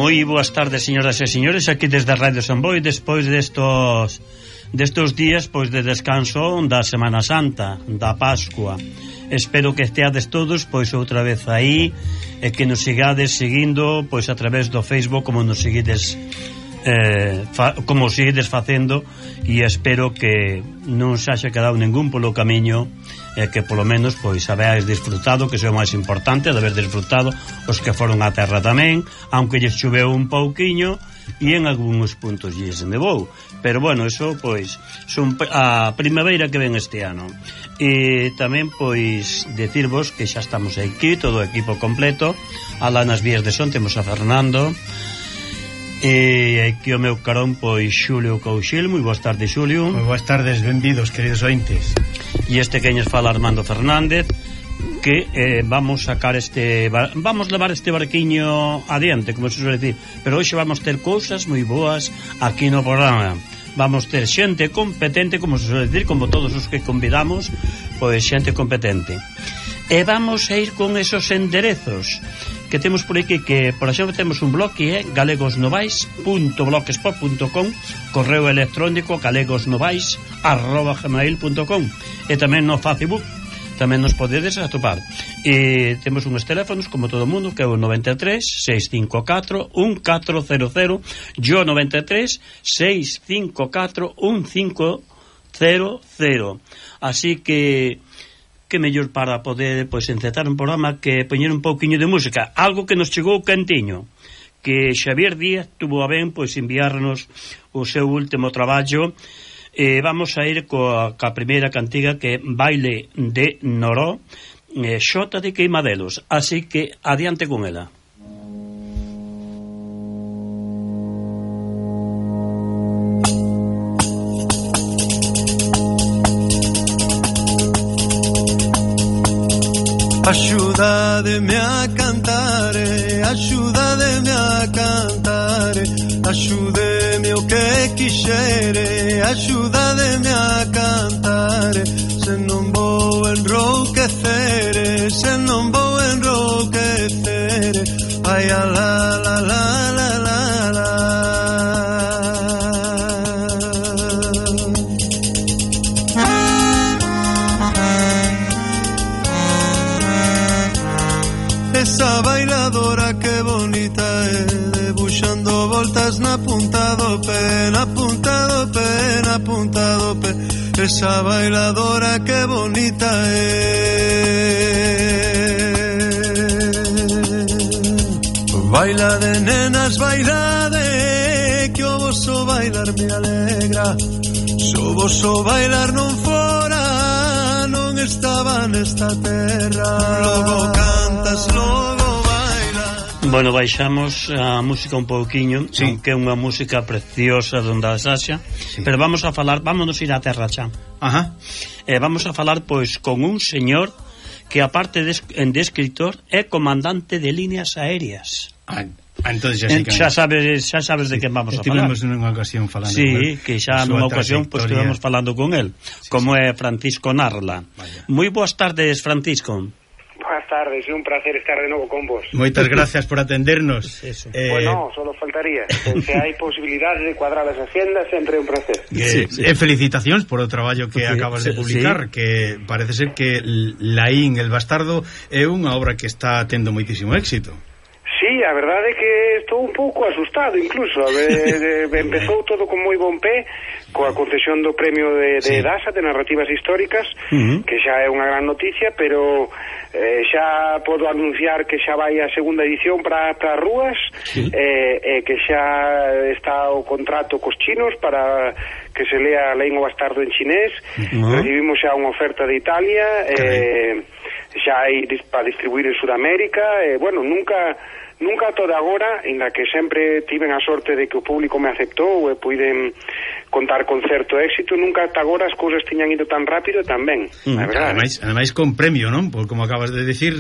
Moi boas tardes, señoras e señores, aquí desde Radio Samboy, despois destos días pois de descanso da Semana Santa, da Pascua. Espero que esteades todos pois outra vez aí e que nos sigades seguindo pois a través do Facebook como nos seguides facendo, e espero que non se haxa quedado ningún polo camiño e que polo menos pois habeades disfrutado, que é o máis importante, de haber disfrutado os que foron á terra tamén, aunque lles choveu un pouquiño e en algúns puntos lles nevou, pero bueno, eso pois son a primavera que ven este ano. E tamén pois decirvos que xa estamos aquí, todo o equipo completo. Alá nas vías de son temos a Fernando e aquí o meu carón pois Xulio Couchil. Moi boas tardes, Xulio. Moi boas tardes, benvidos, queridos ointes. E este queñes fala Armando Fernández, que vamos levar este barquiño adiante, como se suele decir, pero hoxe vamos ter cousas moi boas aquí no programa. Vamos ter xente competente, como se suele decir, como todos os que convidamos, pois xente competente. E vamos a ir con esos enderezos que temos por aquí, que por exemplo temos un blog que é galegosnovais.blogspot.com, correo electrónico galegosnovais@gmail.com, e tamén no Facebook tamén nos podedes atopar. E temos uns teléfonos como todo o mundo, que é o 93 654 1400, yo 93 654 1500. Así que mellor para poder pois encetar un programa que poñer un pouquiño de música, algo que nos chegou cantiño, que Xavier Díaz tuvo a ben pois enviarnos o seu último traballo. Vamos a ir coa primeira cantiga, que é Baile de Noró, Xota de Queimadelos, así que adiante con ela. Axúdademe a cantar, axúdademe a cantar, axúdeme o que quixere, axúdademe a cantar, se non vou enrouquecer, se non vou enrouquecer, ai a la la la la la la. Esa bailadora que bonita é, debuxando voltas na punta do pé, na punta do pé, na punta do pé. Esa bailadora que bonita é. Baila de nenas, baila de, que o voso bailar me alegra. So voso bailar non fora, non estaba nesta terra. Logo cantas, logo bailas. Bueno, baixamos a música un pouquiño, sí, aunque é unha música preciosa donde a Xaxa, sí, pero vámonos ir á terra xa. Ajá. Vamos a falar pois con un señor que aparte de escritor é comandante de líneas aéreas. Entonces xa sabes de quen vamos a falar. Estivemos nunha ocasión falando con él. Sí, que xa nunha ocasión pois estivemos falando con él, sí, como é Francisco Narla. Moi boas tardes, Francisco. Boas tardes, é un placer estar de novo con vos. Moitas gracias por atendernos. Bueno, solo faltaría. Se hai posibilidade de cuadrar as agendas, sempre é un placer. Felicitacións por o traballo que acabas de publicar, sí, que parece ser que Laín el Bastardo é unha obra que está tendo moitísimo éxito. Sí, a verdade é que estou un pouco asustado incluso. Empezou todo con moi bon pé, coa concesión do premio de DASA, de Narrativas Históricas, que xa é unha gran noticia, pero xa podo anunciar que xa vai a segunda edición para as rúas, que xa está o contrato cos chinos para que se lea Laín o Bastardo en chinés. Recibimos xa unha oferta de Italia, xa hai para distribuir en Sudamérica, bueno, nunca toda agora, en la que sempre tiven a sorte de que o público me aceptou e puiden contar con certo éxito, nunca ata agora as cousas tiñan ido tan rápido e tan ben, a verdade. Ademais con premio, non? Por, como acabas de decir,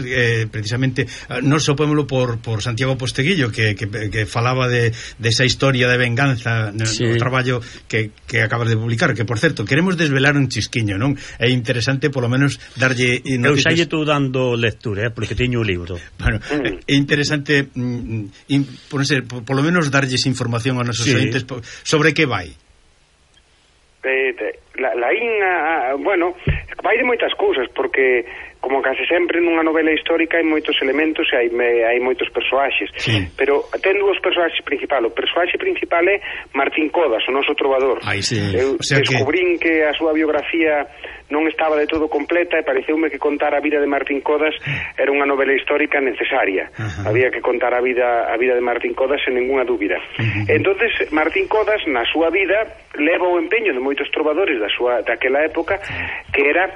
precisamente non sopémolo por Santiago Posteguillo que falaba de esa historia de venganza no traballo que acabas de publicar, que por certo, queremos desvelar un chisquiño, non? É interesante polo menos darlle eu xa lle estou dando lectura, porque teño o libro. Bueno, é interesante por lo menos darlles información aos nosos ointes sobre que vai. Bueno, vai de moitas cousas, porque como case sempre nunha novela histórica hai moitos elementos e hai moitos persoaxes, pero ten dúos persoaxes principais. O persoaxe principal é Martín Codas, o noso trovador. Eu descubrín que a súa biografía non estaba de todo completa e pareceume que contar a vida de Martín Codas era unha novela histórica necesaria. Había que contar a vida de Martín Codas sen ninguna dúbida. Entonces Martín Codas na súa vida leva o empeño de moitos trovadores daquela época, que era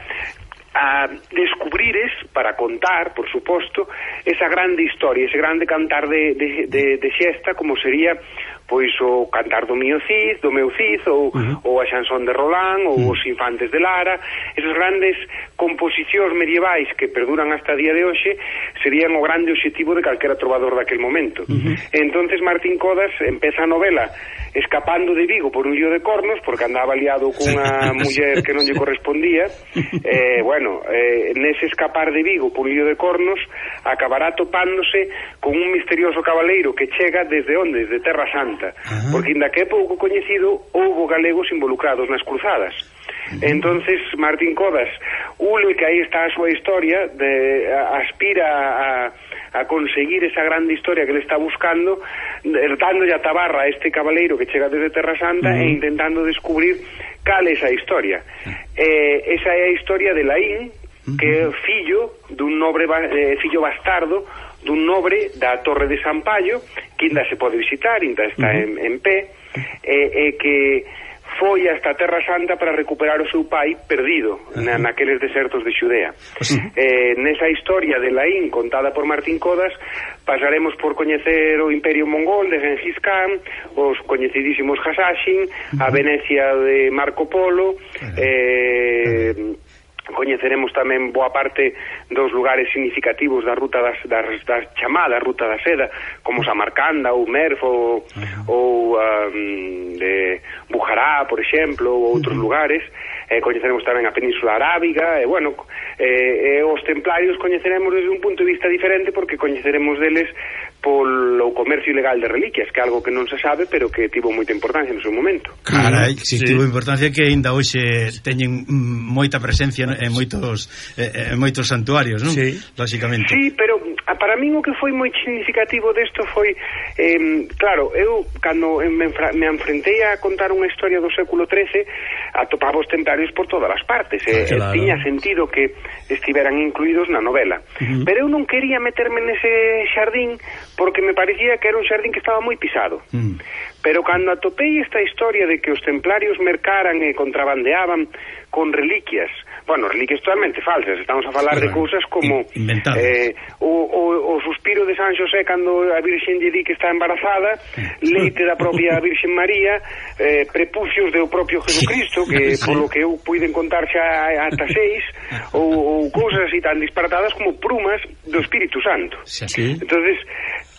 a descubrires, para contar, por suposto, esa grande historia, ese grande cantar de xesta, como sería pois o cantar do meu Cid, ou a Xansón de Roland, ou os Infantes de Lara, esos grandes composicións medievais que perduran hasta día de hoxe, serían o grande obxectivo de calquera trovador daquel momento. Entonces Martín Codas empeza a novela escapando de Vigo por un lío de cornos, porque andaba liado cunha muller que non lle correspondía. Nese escapar de Vigo por un lío de cornos, acabará topándose con un misterioso cabaleiro que chega desde onde? Desde Terra Santa, porque inda que é pouco coñecido, houbo galegos involucrados nas cruzadas. Entonces Martín Codas ule que aí está a súa historia, aspira a conseguir esa grande historia que ele está buscando, dándolle a tabarra a este cabaleiro que chega desde Terra Santa e intentando descubrir cal é esa historia. Esa é a historia de Laín, que é fillo dun nobre, fillo bastardo dun nobre da Torre de San Paio, que ainda se pode visitar, ainda está en pé, que foi hasta a Terra Santa para recuperar o seu pai perdido naqueles desertos de Xudea. Nesa historia de Laín contada por Martín Codas pasaremos por coñecer o Imperio Mongol de Gengis Khan, os coñecidísimos Hasashin, a Venecia de Marco Polo, coñeceremos tamén boa parte dos lugares significativos da ruta das chamada Ruta da Seda, como Samarcanda ou Merv ou de Bujará, por exemplo, ou outros lugares. Coñeceremos tamén a Península Arábiga e os templarios coñeceremos desde un punto de vista diferente, porque coñeceremos deles polo comercio ilegal de reliquias, que é algo que non se sabe, pero que tivo moita importancia no seu momento. Carai, si tivo importancia, que ainda hoxe teñen moita presencia en moitos santuarios, non? Lógicamente. Sí, pero para min o que foi moi significativo desto foi, claro, eu cando me enfrentei a contar unha historia do século XIII, atopaba os templarios por todas as partes, tiña sentido que estiveran incluídos na novela, pero eu non quería meterme nese xardín, porque me parecía que era un xardín que estaba moi pisado. Pero cando atopei esta historia de que os templarios mercaran e contrabandeaban con reliquias, reliquias totalmente falsas, estamos a falar de cousas como o suspiro de San Xosé cando a Virxen lle di que está embarazada, leite da propia Virxen María, prepucios do propio Jesucristo, que polo que eu puiden contar xa ata 6, ou cousas así tan disparatadas como prumas do Espírito Santo. Entonces,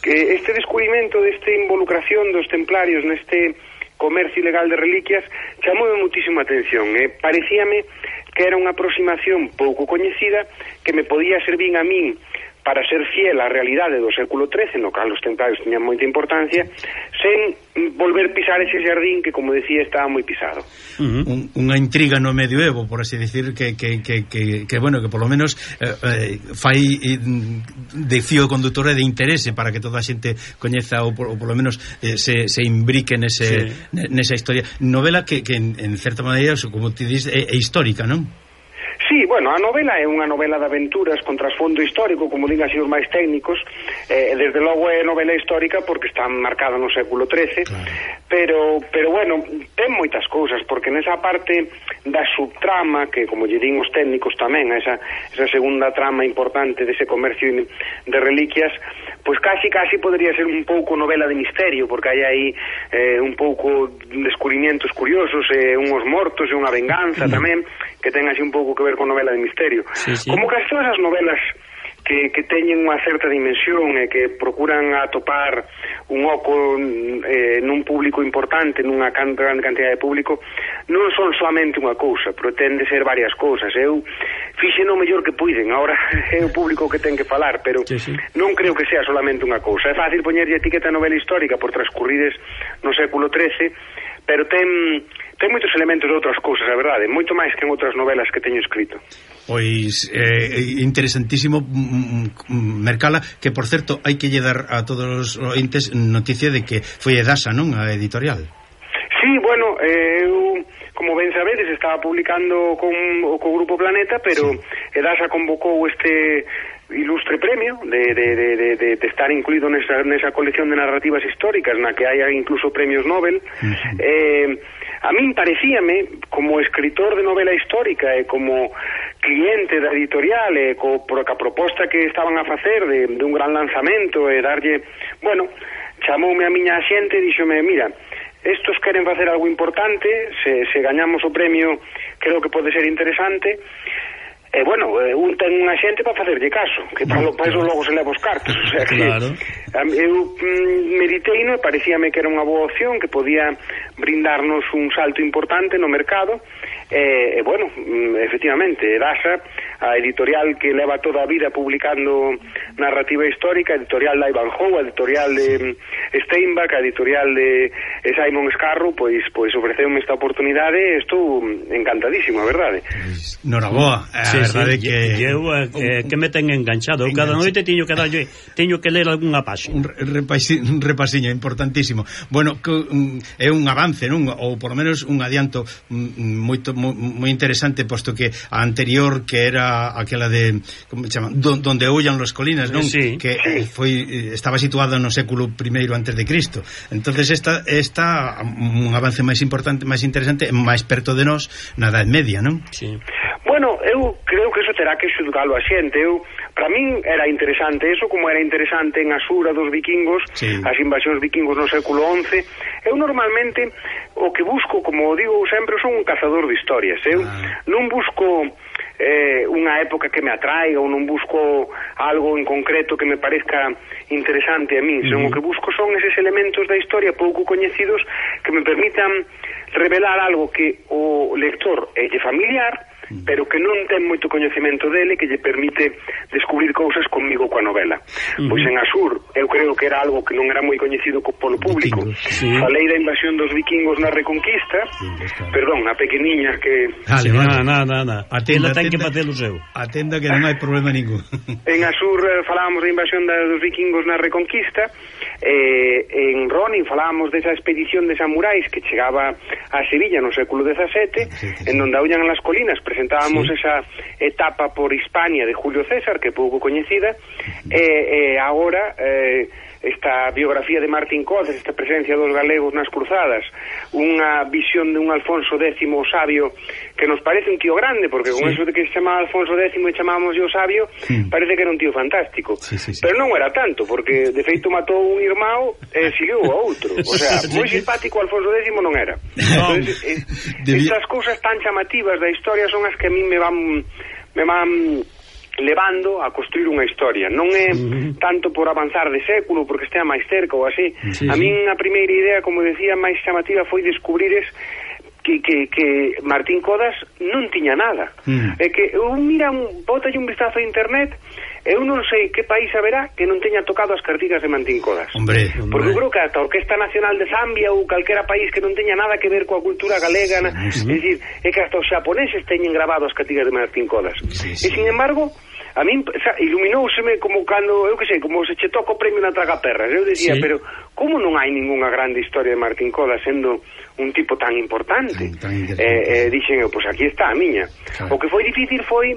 este descubrimento desta involucración dos templarios neste comercio ilegal de reliquias chamoume muitísima atención. Parecíame que era unha aproximación pouco coñecida que me podía servir a min para ser fiel á realidade do século XIII, no cal os templarios tiñan moita importancia, sen volver pisar ese xardín que, como decía, estaba moi pisado. Unha intriga no medioevo, por así decir, que bueno, que polo menos fai de fío condutor e de interese para que toda a xente coñeza ou polo menos se imbrique nesa historia. Novela que en certa maneira, como te dis, é histórica, non? Sí, bueno, a novela é unha novela de aventuras con trasfondo histórico, como din así os máis técnicos, desde logo é novela histórica porque está marcada no século XIII, claro. pero bueno, ten moitas cousas, porque nesa parte da subtrama, que como lle din os técnicos tamén, esa segunda trama importante dese comercio de reliquias, pois casi podría ser un pouco novela de misterio, porque hai aí un pouco descubrimientos curiosos, unhos mortos e unha venganza tamén, que ten así un pouco que ver con novela de misterio. Sí. Como casi todas as novelas que teñen unha certa dimensión e que procuran atopar un oco nun público importante, nunha grande cantidad de público, non son solamente unha cousa, pretende ser varias cousas. Eu fixen o mellor que puiden, ahora é o público que ten que falar, pero non creo que sea solamente unha cousa. É fácil poñerlle etiqueta novela histórica por transcurrides no século XIII, pero ten moitos elementos de outras cousas, a verdade, moito máis que en outras novelas que teño escrito. Pois interesantísimo, Mercala, que por certo hai que lle dar a todos os ointes noticia de que foi Edasa, non? A editorial. Sí, bueno, eu, como ben sabedes, estaba publicando co Grupo Planeta, pero Edasa convocou este ilustre premio de estar incluído nesa colección de narrativas históricas na que hai incluso premios Nobel. A min parecíame, como escritor de novela histórica e como cliente da editorial e por a proposta que estaban a facer de un gran lanzamento e darlle, bueno, chamoume a miña xente e díxome, mira, estos queren facer algo importante, se gañamos o premio creo que pode ser interesante. E bueno, un ten unha xente para facerlle caso, que para eso logo se leva os cartos, o sea que claro. Eu mediteino e parecíame que era unha boa opción, que podía brindarnos un salto importante no mercado. E bueno, efectivamente, Edasa, a editorial que leva toda a vida publicando narrativa histórica, a editorial de Ivanhoe, a editorial de Steinbach, a editorial de Simon Scarrow, pois ofreceume esta oportunidade e estou encantadísimo, a verdade. Noraboa, a verdade que eu que me ten enganchado. Cada noite teño que ler algunha páxina. Un repasiño importantísimo. Bueno, é un avance, non? Ou por lo menos un adianto moi interesante, posto que a anterior, que era aquela de, como se chama, donde aullan las colinas, non? Sí. Que estaba situada no século I antes de Cristo. Entonces esta un avance máis importante, máis interesante, máis perto de nós na Edad Media, non? Sí. Bueno, eu creo que eso terá que xudgalo a xente. Para min era interesante eso, como era interesante en Asura dos vikingos, as invasións vikingos no século XI. Eu normalmente o que busco, como digo sempre, son un cazador de historias. Eu non busco unha época que me atraiga, ou non busco algo en concreto que me parezca interesante a mí, senón o que busco son eses elementos da historia pouco coñecidos que me permitan revelar algo que o lector é familiar, pero que non ten moito coñecemento dele, que lle permite descubrir cousas comigo coa novela. Pois en Asur eu creo que era algo que non era moi coñecido polo público. Falei da invasión dos vikingos na Reconquista, perdón, a pequeniña que... Nada. Atenda, ten que facer o seu. Atenda que non hai problema ningún. En Asur falábamos da invasión dos vikingos na Reconquista, en Ronin falábamos desa expedición de samurais que chegaba a Sevilla no século XVII, en donde aullan las colinas. Presentábamos esa etapa por Hispania de Julio César, que é pouco coñecida, e agora esta biografía de Martín Codas, esta presencia dos galegos nas cruzadas, unha visión de un Alfonso X sabio que nos parece un tío grande, porque con eso de que se chamaba Alfonso X e chamábamos yo sabio, parece que era un tío fantástico, pero non era tanto, porque de feito matou un irmão e siguiu a outro, o sea, moi simpático Alfonso X non era. Entonces, estas cousas tan chamativas da historia son as que a mí me van levando a construir unha historia. Non é tanto por avanzar de século, porque estea máis cerca ou así. A min a primeira idea, como decía, máis chamativa foi descubrires que Martín Codas non tiña nada. É que mira, bótalle un vistazo a internet, eu non sei que país haberá que non teña tocado as cartigas de Martín Codas. Porque eu creo que ata a Orquesta Nacional de Zambia ou calquera país que non teña nada que ver coa cultura galega, é dicir, é que hasta os xaponeses teñen grabado as cartigas de Martín Codas. E sin embargo, a min iluminouseme como cando, eu que sei, como se che toca o premio na Tragaperras. Eu decía, pero como non hai ningunha grande historia de Martín Codas sendo un tipo tan importante? Dixen eu, pois aquí está a miña. Claro. O que foi difícil foi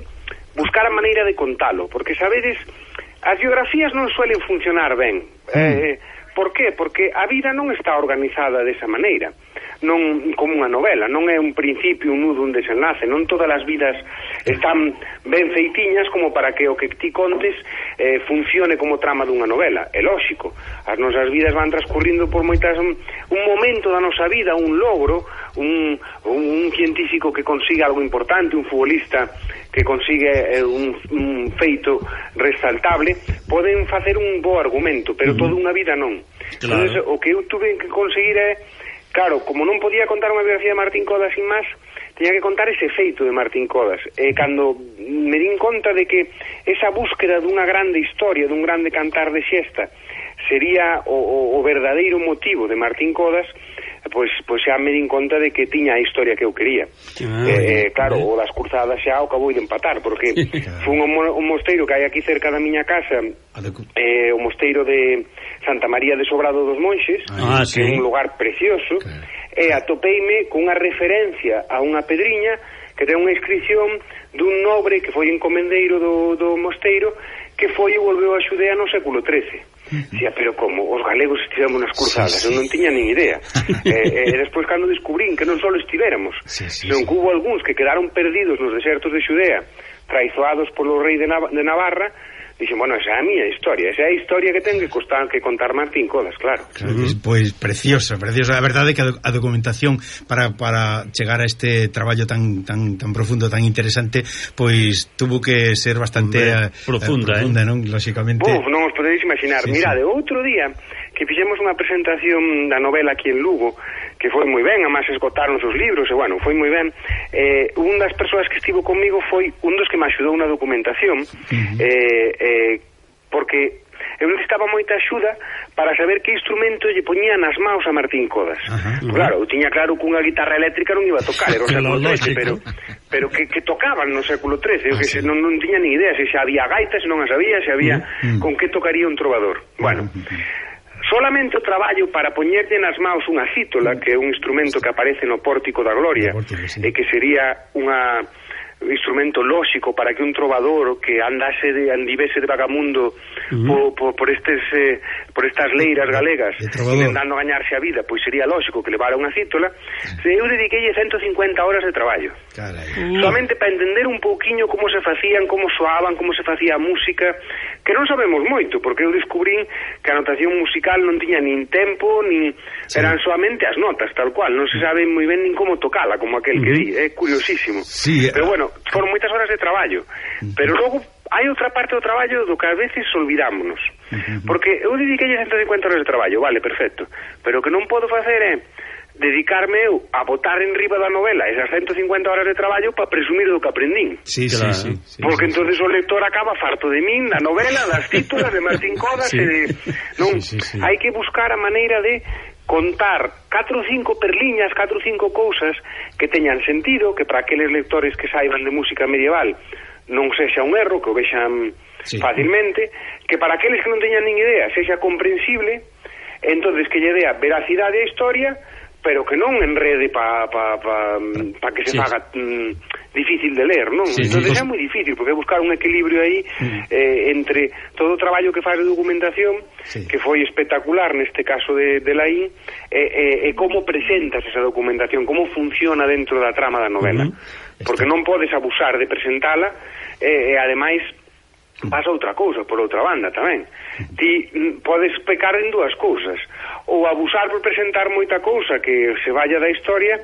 buscar a maneira de contalo, porque sabedes, as biografías non suelen funcionar ben. Por qué? Porque a vida non está organizada desa maneira, non como unha novela, non é un principio, un nudo, un desenlace, non todas as vidas están ben feitiñas como para que o que ti contes funcione como trama dunha novela. É lóxico, as nosas vidas van transcurrindo por moitas, un momento da nosa vida, un logro, un científico que consigue algo importante, un futbolista que consigue un feito resaltable, poden facer un bo argumento, pero toda unha vida non. Claro. Entonces, o que eu tuve que conseguir é, claro, como non podía contar unha biografía de Martín Codas sin máis, teña que contar ese feito de Martín Codas. Cando me din conta de que esa búsqueda dunha grande historia, dun grande cantar de xesta, sería o verdadeiro motivo de Martín Codas, pois xa me din conta de que tiña a historia que eu quería. Claro, o das cruzadas xa o acabou de empatar, porque foi un mosteiro que hai aquí cerca da miña casa, o mosteiro de Santa María de Sobrado dos Monxes, que é un lugar precioso, e atopeime cunha referencia a unha pedriña que ten unha inscripción dun nobre que foi encomendeiro do mosteiro, que foi e volveu a Xudea no século XIII. Dicía, pero como os galegos estivemos nas cruzadas, eu non tiña nin idea. E despois cando descubrín que non só estivéramos, senón que hubo algúns que quedaron perdidos nos desertos de Xudea, traizoados polo rei de Navarra, dixen, bueno, esa é a miña historia, esa é a historia que ten que contar Martín Codas, claro. Pois preciosa. A verdade é que a documentación para chegar a este traballo tan profundo, tan interesante, pois tuvo que ser bastante profunda, non? Lóxicamente. Non os podedes imaginar. Mirade, outro día que fixemos unha presentación da novela aquí en Lugo, que foi moi ben, además esgotaron os libros, e bueno, foi moi ben. Un das persoas que estivo comigo foi un dos que me axudou na documentación, porque eu necesitaba moita axuda para saber que instrumento lle poñía nas maus a Martín Codas. Claro, eu tiña claro que unha guitarra eléctrica non iba a tocar, era o século XIII, pero que tocaban no século XIII, que non tiña ni idea se había gaitas, se non as había, se había con que tocaría un trovador. Bueno, solamente o traballo para poñerlle nas maus unha cítola, que é un instrumento que aparece no Pórtico da Gloria, e que sería un instrumento lóxico para que un trovador que andivese de vagamundo por estas leiras galegas intentando gañarse a vida, pois sería lóxico que levara unha cítola. Eu dediquei 150 horas de traballo, solamente para entender un pouquiño como se facían, como soaban, como se facía a música, que non sabemos moito, porque eu descubrín que a notación musical non tiña nin tempo, nin eran solamente as notas, tal cual, non se sabe moi ben nin como tocala, como aquel que di, é curiosísimo. Pero bueno, foron moitas horas de traballo, pero logo hai outra parte do traballo do que a veces olvidámonos, porque eu dediquei 150 horas de traballo, vale, perfecto, pero o que non podo facer é dedicarme eu a botar en riba da novela esas 150 horas de traballo para presumir do que aprendín. Porque entonces o lector acaba farto de min, da novela, das títulas de Martín Codas, hai que buscar a maneira de contar 4 ou 5 perliñas, 4 ou 5 cousas que teñan sentido, que para aqueles lectores que saiban de música medieval non sexa un erro, que o vexan fácilmente, que para aqueles que non teñan nin idea sexa comprensible, entonces que lle dea veracidade á historia, pero que non enrede pa que se faga difícil de ler, non? Entonces é moi difícil, porque buscar un equilibrio aí entre todo o traballo que faz de documentación, que foi espectacular neste caso de Laín, e como presentas esa documentación, como funciona dentro da trama da novela, porque non podes abusar de presentala, e ademais pasa outra cousa, por outra banda tamén. Ti podes pecar en dúas cousas, ou abusar por presentar moita cousa que se vaya da historia,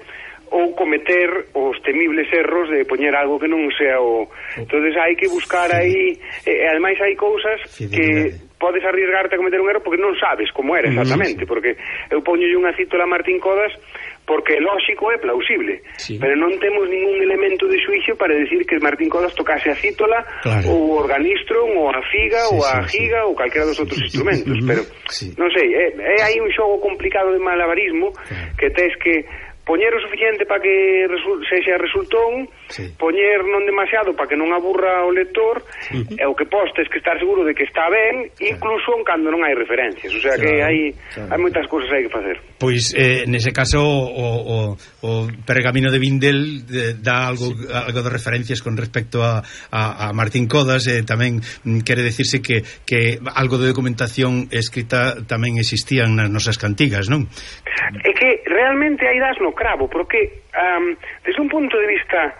ou cometer os temibles erros de poñer algo que non sea o... Entonces hai que buscar aí, ademais hai cousas que podes arriesgarte a cometer un erro porque non sabes como era exactamente, porque eu poñolle unha cítola a Martín Codas porque é lógico, é plausible, pero non temos ningún elemento de xuicio para decir que Martín Codas tocase a cítola, ou o organistron, ou a figa, ou a giga, ou calquera dos outros instrumentos, pero non sei, é aí un xogo complicado de malabarismo que tes que poñer o suficiente para que sexa resultón, poñer non demasiado para que non aburra o lector, e o que postes que estar seguro de que está ben, incluso cando non hai referencias, o sea que hai moitas cousas aí que facer. Pois nese caso o Pergamino de Vindel dá algo de referencias con respecto a Martín Codas, tamén quere decirse que algo de documentación escrita tamén existían nas nosas cantigas, non? É que realmente aí das no cravo, porque desde un punto de vista,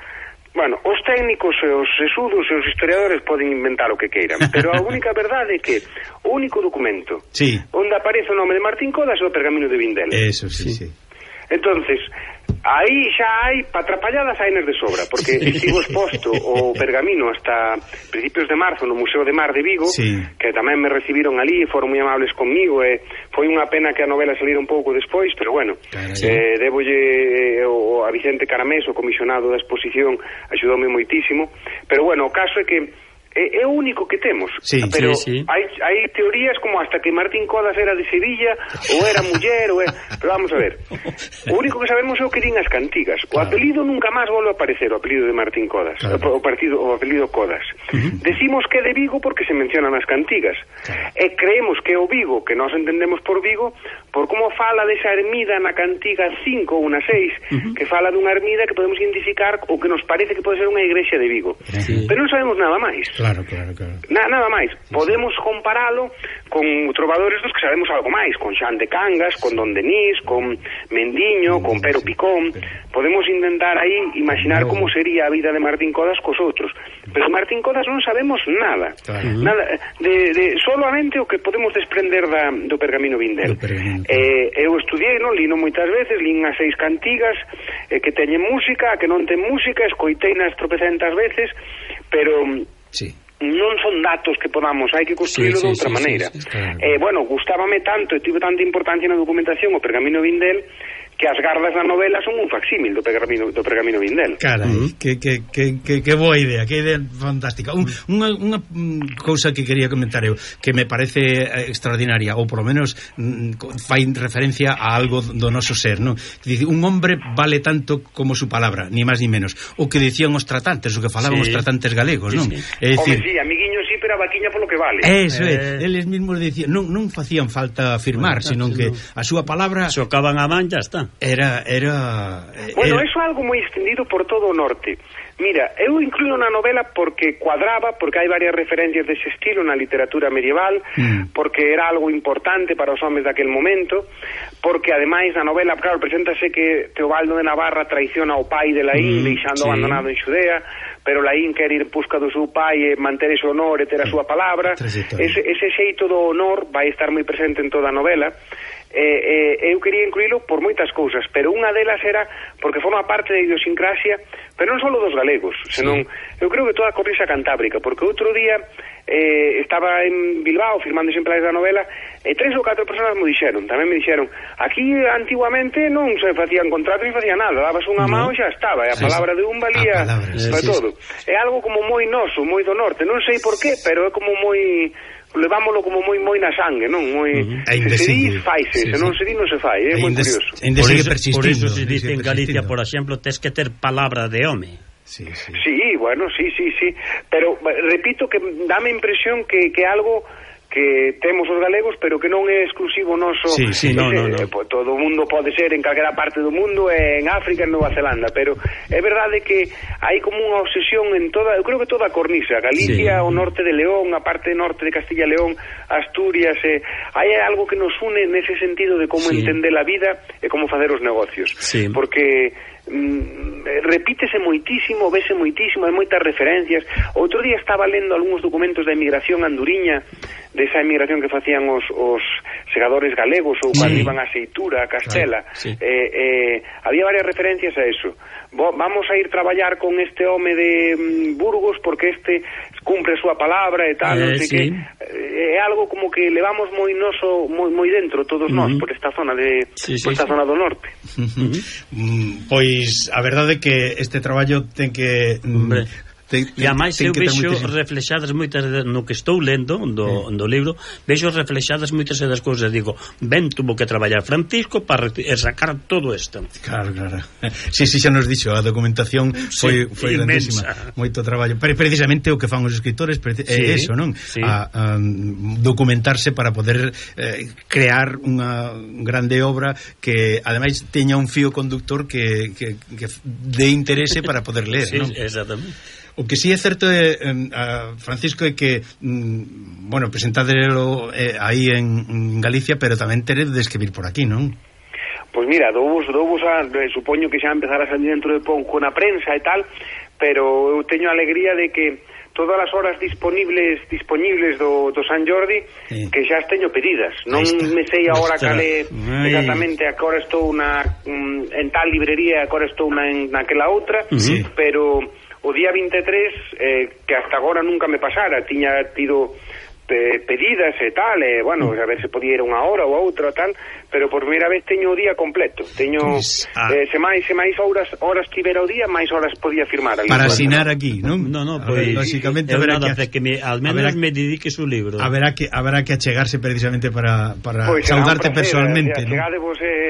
bueno, os técnicos e os sesudos e os historiadores poden inventar o que queiran, pero a única verdade é que o único documento onde aparece o nome de Martín Codas é o Pergamino de Vindel. Eso, sí. Entonces, aí xa hai patrapalladas ainas de sobra, porque estivo exposto o pergamino hasta principios de marzo no Museo de Mar de Vigo, que tamén me recibiron ali, foron moi amables conmigo, e foi unha pena que a novela saliera un pouco despois, pero bueno, debolle a Vicente Caramés, o comisionado da exposición, axudoume moitísimo, pero bueno, o caso é que é o único que temos, pero hai teorías como hasta que Martín Codas era de Sevilla ou era muller, pero vamos a ver, o único que sabemos é o que din as cantigas, o apelido nunca máis volve a aparecer, o apelido de Martín Codas, o apelido Codas. Decimos que é de Vigo porque se mencionan as cantigas, e creemos que é o Vigo, que nós entendemos por Vigo, por como fala desa ermida na cantiga 5 ou na 6, que fala dunha ermida que podemos identificar o que nos parece que pode ser unha igrexa de Vigo, pero non sabemos nada máis. Claro. Nada máis. Podemos comparalo con trovadores dos que sabemos algo máis, con Xan de Cangas, con Don Denís, con Mendiño, con Pero Picón. Podemos intentar aí imaginar como sería a vida de Martín Codas cos outros. Pero Martín Codas non sabemos nada. Nada solamente o que podemos desprender do Pergamino Vindel. Eu estudiei, non, lino moitas veces, lin as 6 cantigas que teñen música, que non ten música, escoiteinas tropecentas veces, pero non son datos que podamos, hai que construílo de outra maneira. Bueno, gustábame tanto e tive tanta importancia na documentación o Pergamino Vindel que as gardas da novela son un facsímil do Pergamino Vindel. Carai, que boa idea, que idea fantástica. Unha cousa que quería comentar eu, que me parece extraordinaria, ou por lo menos fai referencia a algo do noso ser, non? Dice, un hombre vale tanto como su palabra, ni máis ni menos. O que dicían os tratantes, o que falaban os tratantes galegos, non? É dicir, amiguiño, pero a vaquiña polo que vale. Eso eles mesmos dicían, non facían falta afirmar, senón que a súa palabra chocaban a man, ya está. Bueno, eso é algo moi extendido por todo o norte. Mira, eu incluo na novela porque cuadraba, porque hai varias referencias dese estilo na literatura medieval, porque era algo importante para os homes daquel momento, porque ademais na novela, claro, preséntase que Teobaldo de Navarra traiciona ao pai de Laín, deixando abandonado en Xudea, pero Laín quer ir busca do seu pai e manter ese honor e ter a súa palabra. Ese xeito do honor vai estar moi presente en toda a novela. Eu quería incluílo por moitas cousas, pero unha delas era porque forma parte da idiosincrasia, pero non só dos galegos, senón eu creo que toda a cornisa cantábrica, porque outro día estaba en Bilbao firmando exemplares da novela e 3 ou 4 persoas tamén me dixeron, aquí antiguamente non se facían contratos ni facían nada, dabas unha mão e xa estaba, e a palabra de un valía para todo. É algo como moi noso, moi do norte, non sei por qué, pero é como moi, levámoslo como moi na sangue, non? Moi se di, faise, se non se di non se fai, é moi curioso. Por eso se dice en Galicia, por exemplo, tes que ter palabra de home. Sí, bueno, sí, pero repito que dame impresión que algo que temos os galegos, pero que non é exclusivo noso. No. Todo o mundo pode ser en calquera parte do mundo, en África, en Nova Zelanda, pero é verdade que hai como unha obsesión en toda, eu creo que toda a cornisa, Galicia, o norte de León, a parte norte de Castilla e León, Asturias, hai algo que nos une nese sentido de como entender a vida e como facer os negocios, porque repítese moitísimo, vese moitísimo, hai moitas referencias. Outro día estaba lendo algúns documentos da emigración anduriña, desa emigración que facían os segadores galegos ou cando iban a Seitura, a Castela. Había varias referencias a eso. Vamos a ir traballar con este home de Burgos porque este cumpre a súa palabra e tal, non sei que. É algo como que levamos moi noso, moi dentro todos nós por esta zona esta zona do norte. Pois a verdade é que este traballo ten que E a máis eu vexo reflexadas moitas no que estou lendo do libro, vexo reflexadas moitas das cousas, digo, ben tuvo que traballar Francisco para sacar todo isto. Claro. Sí, xa nos dixo, a documentación foi grandísima, moito traballo, precisamente o que fan os escritores é eso, non? A documentarse para poder crear unha grande obra que ademais teña un fío conductor que de interese para poder ler, non? Exactamente. O que sí é certo Francisco é que presentadelo aí en Galicia, pero tamén teredes de escribir por aquí, non? Pois mira, douvos supoño que xa empezar a salir dentro de pouco na prensa e tal, pero eu teño a alegría de que todas as horas disponibles do San Jordi que xa as teño pedidas. Non me sei agora cale exactamente a que hora estou en tal librería, a que hora estou naquela outra, pero o día 23 que hasta agora nunca me pasara, tiña tido pedidas e tal, a ver se podía ir unha hora ou outra tal, pero por primeira vez teño o día completo, teño se máis horas tivera o día, máis horas podía firmar para asinar aquí, non? Pois lógicamente al menos me dediques un libro. Haberá que achegarse precisamente para saudarte personalmente, non?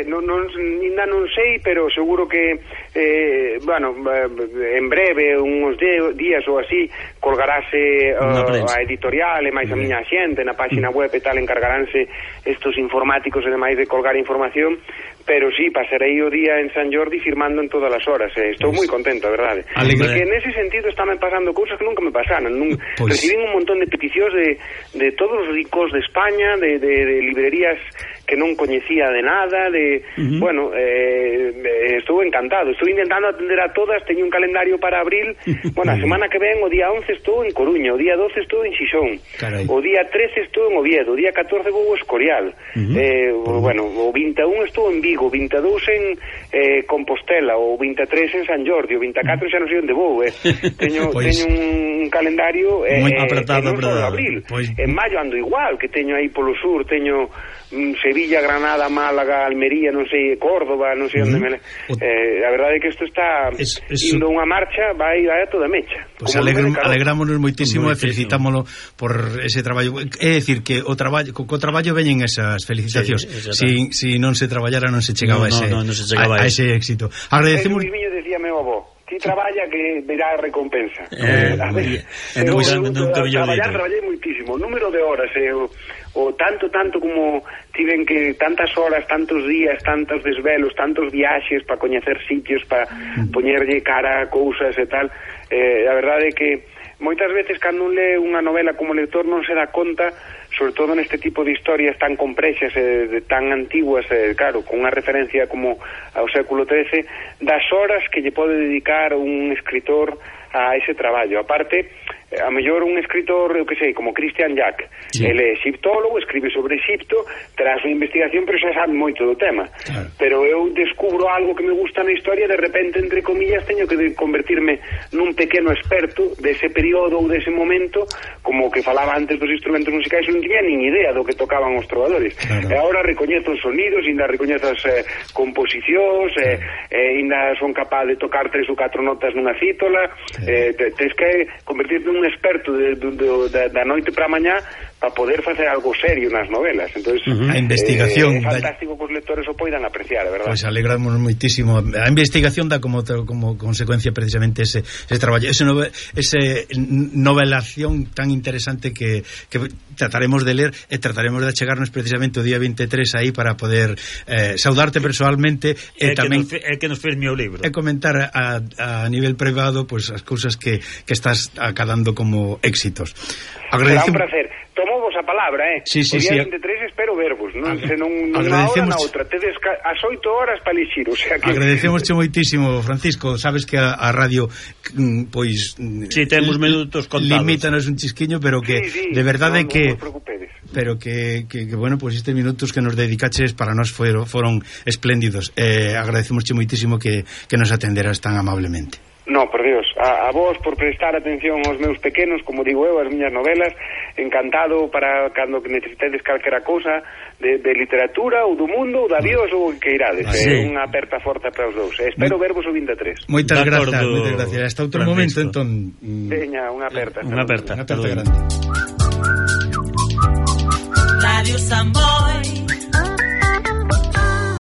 Ainda non sei, pero seguro que en breve, uns días ou así, colgarase a editorial e máis a miña xente na página web e tal, encargaránse estos informáticos e demais de colgar información, pero sí, pasarei o día en San Jordi firmando en todas as horas, estou moi contento, a verdade. Porque nese sentido estame pasando cousas que nunca me pasaran, recibín un montón de peticións de todos os ricos de España, de librerías que non coñecía de nada, estou encantado, estou intentando atender a todas, teño un calendario para abril, a semana que ven o día 11 estou en Coruña, o día 12 estou en Xixón, o día 13 estou en Oviedo, o día 14 vou a Escorial, o 21 estou en Vigo, o 22 en Compostela, o 23 en San Jordi, o 24 xa non sei onde vou, teño un calendario moi apretado, non só abril, en maio ando igual, que teño aí polo sur, teño Sevilla, Granada, Málaga, Almería, non sei, Córdoba, non sei onde a verdade é que isto está indo unha marcha, vai a toda mecha. Pois alegrámonos moitísimo e felicitámoslo por ese traballo. É dicir que co traballo veñen esas felicitacións. Si non se traballara non se chegaba a ese éxito. Agradecemos. Miño decía meu avó, ti traballa que verá recompensa. Traballei moitísimo, o número de horas o tanto como tiven que tantas horas, tantos días, tantos desvelos, tantos viaxes para coñecer sitios, para poñerlle cara a cousas e tal, a verdade é que moitas veces cando un lee unha novela como lector non se dá conta, sobre todo neste tipo de historias tan complexas e tan antiguas, claro, con unha referencia como ao século XIII, das horas que lle pode dedicar un escritor a ese traballo. Aparte, a mellor un escritor, eu que sei, como Christian Jack, ele é egiptólogo, escribe sobre Egipto, terá a súa investigación, pero xa sabe moito do tema. Pero eu descubro algo que me gusta na historia, de repente, entre comillas, teño que convertirme nun pequeno experto dese período ou dese momento, como que falaba antes dos instrumentos musicais, non tiña nin idea do que tocaban os trovadores. E agora recoñezo os sonidos, ainda recoñezo as composicións, ainda son capaz de tocar 3 ou 4 notas nunha cítola, tens que convertirte un experto da noite para a mañá para poder facer algo serio nas novelas. Entonces, a investigación é fantástico que os lectores o poidan apreciar, a verdade. Pois alegramos moitísimo. A investigación dá como consecuencia precisamente ese traballo, ese novelación tan interesante que trataremos de ler e trataremos de achegarnos precisamente o día 23 aí para poder saudarte personalmente e tamén que nos firme o libro e comentar a nivel privado pues as cousas que estás acadando como éxitos. Será un placer. Tomo vos a palabra, Sí, o día 23 espero vervos, non unha hora na outra, tedes as 8 horas para elixir, o sea que... Agradecemosche moitísimo, Francisco, sabes que a radio pois temos minutos contados, limítanos un chisquiño, pero que de verdade que pero que bueno, pois estes minutos que nos dedicaches para nós foron espléndidos. Agradecemosche moitísimo que nos atenderas tan amablemente. No, por Dios, a vos por prestar atención aos meus pequenos, como digo eu, as miñas novelas, encantado para cando necesitedes calquera cousa de literatura ou do mundo ou da Dios ou o que irades. Unha aperta forte para os dous. Espero vervos o 23. Moitas gracias. Hasta outro momento, entón. Veña, unha aperta. Unha aperta grande. Radio Samboy.